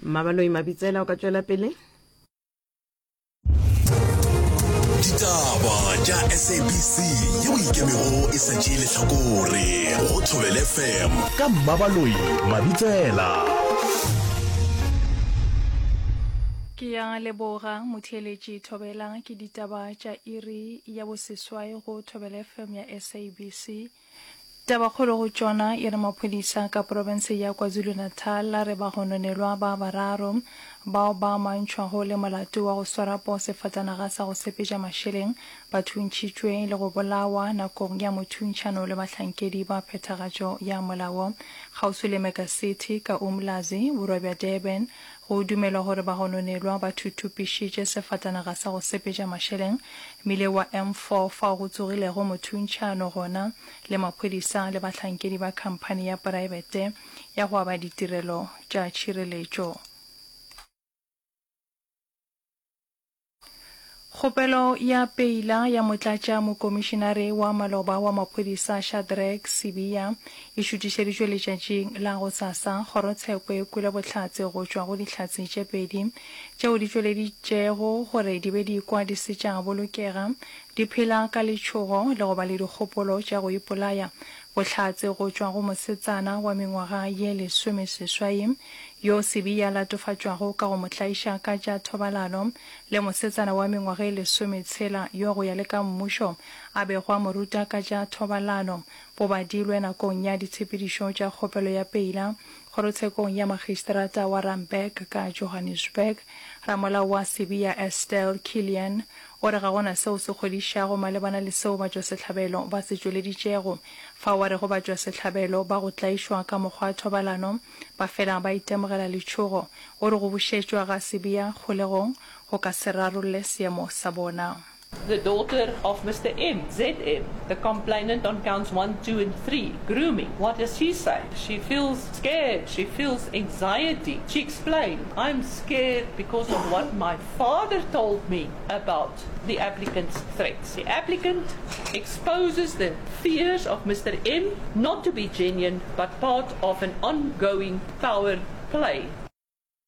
Mmabaloi Mabitsela o ka tšwela pele. Ditaba tša SABC yeo ikemego e sa tšee lehlakore go Thobela FM ka Mmabaloi Mabitsela. Ke ya leboga motheeletši Thobela ke ditaba tša iri ya boseswai go Thobela FM ya SABC. Tabakgolo go tšona e re maphodisa ka profense ya KwaZulu-Natal a re bagononelwa ba bararo bao ba amantšhwago le molato wa go swara poo sefatanaga sa go sepetša mašeleng ba thuntšhitšwe le go bolawa nakong ya mothuntšhano le bahlankedi ba phethagatšo ya molao kgauswi le Mega City ka Umlazi, borwa bja Durban. Go dumelwa gore bagononelwa ba thuthupišitše sefatanaga sa go sepetša mašeleng mmile wa M4 fao go tsogilego mothuntšhano gona le maphodisa le bahlankedi ba khamphani ya poraebete ya go aba ditirelo tša tšhireletšo. Kgopelo ya peila ya motlatša mokomišinare wa maloba wa maphodisa Shadrack Sibiya e šutišeditšwe letšatšing la gosasa. Kgorotsheko e kwele bohlatse go tšwa go dihlatse tše pedi tšeo di tšweleditšego gore di be di ikwa di se tša bolokega, di phela ka letšhogo le go ba le dikgopolo tša go ipolaya. Bohlatse go tšwa go mosetsana wa mengwaga ye lesomeseswai yo Sibiya a latofatšwago ka go mo tlaiša ka tša thobalano, le mosetsana wa mengwaga e lesometshela yo go ya le ka mmušo a bego a mo ruta ka tša thobalano, bo badilwe nakong ya ditshepedišo tša kgopelo ya peila kgorotshekong ya magistrata wa Randburg ka Johannesburg. Ramolao wa Sibiya Estelle Killian o re ga go na seo se kgodišago malebana le seo batšwasehlabelo ba se tšweleditšego fao a rego batšwasehlabelo ba go tlaišwa ka mokgwa wa thobalano ba fela ba itemogela letšhogo. O re go bušetšwa ga Sibiya kgolegong go ka se rarolle seemo sa bona. The daughter of Mister M, ZM, the complainant on counts 1, 2 and 3, grooming. What does she say? She feels scared, she feels anxiety. She explained, I'm scared because of what my father told me about the applicant's threats. The applicant exposes the fears of Mister M not to be genuine but part of an ongoing power play.